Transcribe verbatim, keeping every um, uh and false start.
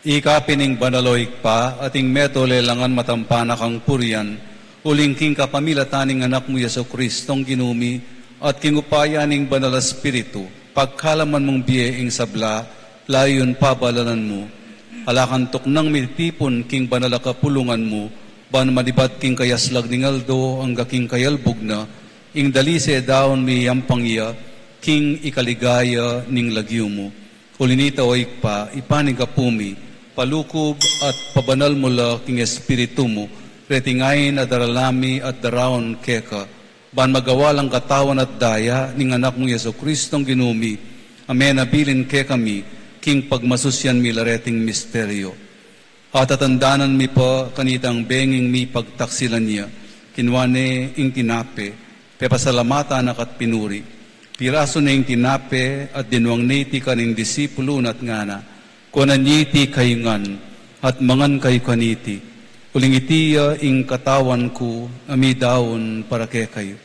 Ika pin ing banal, o Ibpa, at ing metung lelangan matampa na kang purian, uling king kapamilatan ning Anak mu Jesucristong Ginu mi, at king upaya ning Banal a Espiritu, pagkalaman mung bie ing sabla, layun pabalalan mu. Ala kang tuknang mitipun king banal a kapulungan mu, ban manibat king kayaslag ning aldo angga king kayalbug na, ing dalise daun miyampang ya, king ikaligaya ning lagyu mu. Uli nita, o Ibpa, ipanyawad mi, palukub at pabanal mu la king Espiritu mu, reting ain a darala mi at daraun keka, ban magawa lang katawan at daya ning Anak mung Jesucristong Ginu mi, a menabilin kekami, king pagmasusyan mi la reting misteryo. At tatandanan mi pa kanitang benging mipagtaksilan ya, kinua ne ing tinape, pepasalamatan na ka't pinuri. Pirasu ne ing tinape at dinuang ne iti karing disipulu na at ngana, kuanan ye iti kayu ngan, at mangan kayu kaniti. Uling iti ya ing katawan ku a midaun para kekayu.